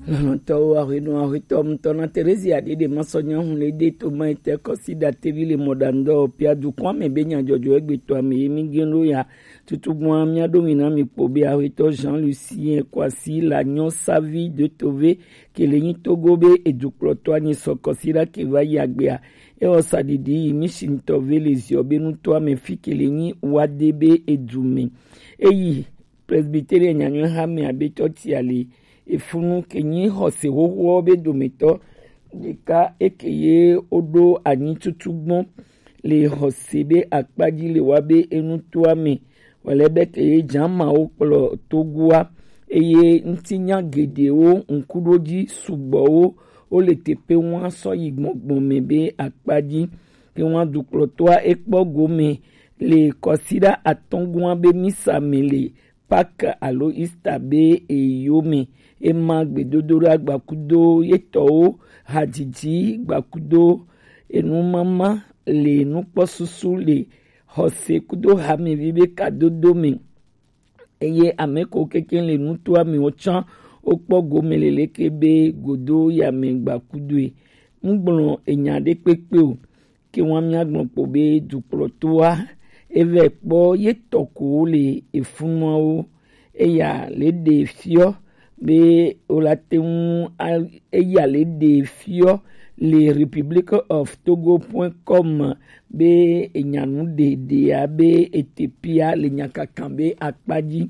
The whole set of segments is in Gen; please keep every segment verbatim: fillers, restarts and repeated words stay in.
Lɔlɔ̃tɔwo, ahwenɔ ahwetɔ ŋutɔ na Terezia ɖeɖe masɔ nyahun le de to ma ete kɔsi ɖatevi le mɔɖaŋudɔwɔƒea dukɔa me be nyadzɔdzɔ egbetɔa me ye mi gen ɖo ya. Tutugbɔa mia ɖo mi na mi kpo be ahwetɔ Jean Lucien Kwasi la nyɔ savi de tove ke le nyi togo be edukplɔtɔa nyi sɔ kɔsi ɖa ke va yi agbea. Ewɔ sa ɖiɖi yi mi si ŋutɔ ve le ziɔ be nutɔa me fi ke le nyi wa de be edu me. Eyi Presbyterian nyanyɔe ha me abe tsɔtsia le efunu ke nyi xɔse xoxoawo be dometɔ ɖeka eke ye woɖo anyi tutu gbɔn le xɔse be akpa dzi le wa be enutoa me wòle be ke ye dzamawo kplɔ togoa eye ŋutinya geɖewo ŋkuɖodzi sugbɔwo wole teƒe ŋua sɔ yi gbɔngbɔn me be akpa dzi. Ke ŋua dukplɔtɔa ekpɔ gome le kɔsiɖa atɔ̃ gɔ̃a be misa me le Pâques alo Easter be eyome. Ema gbedodoɖa gbakudo yetɔwo, hadzidzi gbakudo enumama le nukpɔsusu le xɔse kudo hamevi be kadodo me. Eye ame ko keke le nutoa me wotsã wokpɔ gome leleke be godo ya me gbakudoe. Mugblɔ enya ɖe kpekpe o. Ke ŋua míagblɔ kpo be dukplɔtoa evɛ kpɔ ye tɔ ko le efunuawo. Eya le ɖe fiɔ be wola te ŋu a- eya le ɖe fiɔ le Republic of Togo point com be enyanu ɖeɖea be etepia le nyakaka be akpa dzi.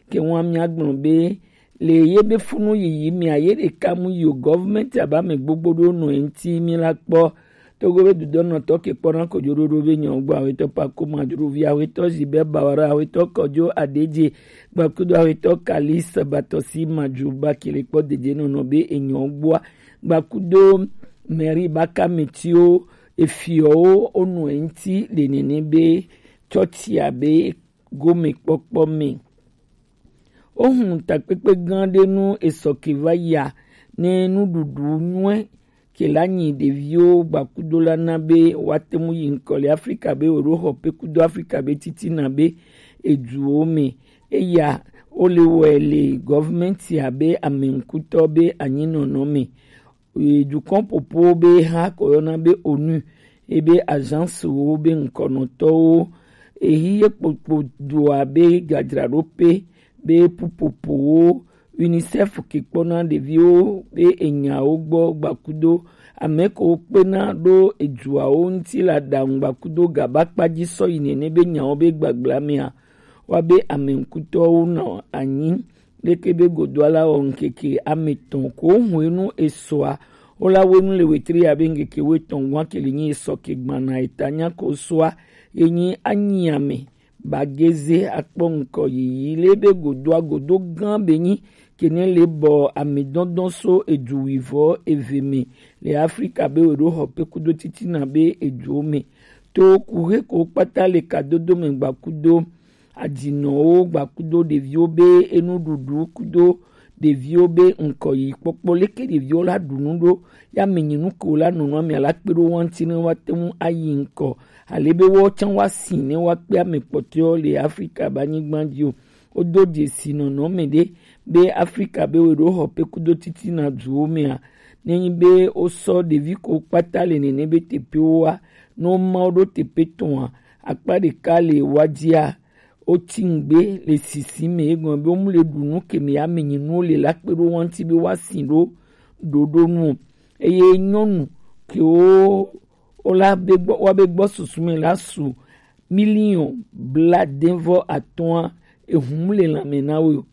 Ke ŋua míagblɔ be le ye be funu yiyi mia ye ɖeka mu yi o gɔvmɛnti aba me gbogbo ɖo nɔ eŋti mi la kpɔ. Togo be dudɔnɔtɔ ke kpɔna kojoɖoɖo be nyɔ gbɔ awetɔ pako madruvi awetɔ zibe bawara awetɔ kɔjo adeje gbakudo awetɔ kalis batɔsi madru ba kele kpɔ deje nɔnɔ be enyɔ gbɔa gbakudo mɛri baka metiwo efiɔwo onɔ eŋti le nene be tsɔtsia be gomekpɔkpɔ me. Wohun takpekpe gã ɖe nu esɔ ke va ya ne nuɖuɖu nyuie ke la nyi ɖeviwo gbakudo la na be woate ŋu yi ŋkɔ le Afrika be woɖo xɔ pe kudo Afrika be titina be eduwo me. Eya wole wɔe le gɔvmɛnti abe ame ŋkutɔ be anyinɔnɔ me. Dukɔn popo be ha ko yɔna be onu ebe agence wo be ŋkɔnɔtɔwo ehi ye kpokpo dua be gadzraɖoƒe be pupopowo UNICEF ke kpɔna ɖeviwo be enyawo gbɔ gbakudo ame ko kpena ɖo eduawo ŋuti la ɖaŋu gbakudo gaba kpadzi sɔ yi nene be nyawo be gbagblã mea wa be ame ŋkutɔwo nɔ anyi leke be godoa la wɔ ŋkeke ame tɔn ko hwenu esɔa wola wenu le wetri ya be ŋkeke wetɔn gwa kele nyi esɔ ke gbana eta nya ko sɔa ye nyi anyi ame bageze akpɔ ŋkɔ yiyi le be godoa godo gã be nyi kene le bɔ ame dɔndɔn so edu wivɔ eve me le Afrika be weɖo xɔ pe kudo titina be eduwo me to kuhe ko kpata le kadodo me gbakudo adinɔwo gbakudo ɖeviwo be enuɖuɖu kudo ɖeviwo be ŋkɔ yi kpɔkpɔ leke ɖeviwo la ɖu nu ɖo ya me nyi nu ko la nɔnɔ ame ala kpe ɖo wa ŋuti ne wa te ŋu ayi ŋkɔ ale be wo tsã wa si ne wa kpe ame kpɔtɔewo le Afrika be anyigba dzi o. Wodo dzesi nɔnɔme ɖe be Afrika be weɖo xɔ pe kudo titina duwo mea ne nyi be wosɔ ɖevi ko kpata le nene be teƒewo wa ne woma wo ɖo teƒe tɔn a akpa ɖeka le wa dzia wotsi ŋgbe le sisi me egɔme be womu le ɖu nu ke me ya me nyi nuwo le la kpe ɖo wa ŋuti be wa si ɖo ɖoɖo nu o. Eye nyɔnu kewo wola be gbɔ wa be gbɔ susu me la su miliɔn bladenvɔ atɔ̃a ehum le lãme na wo o.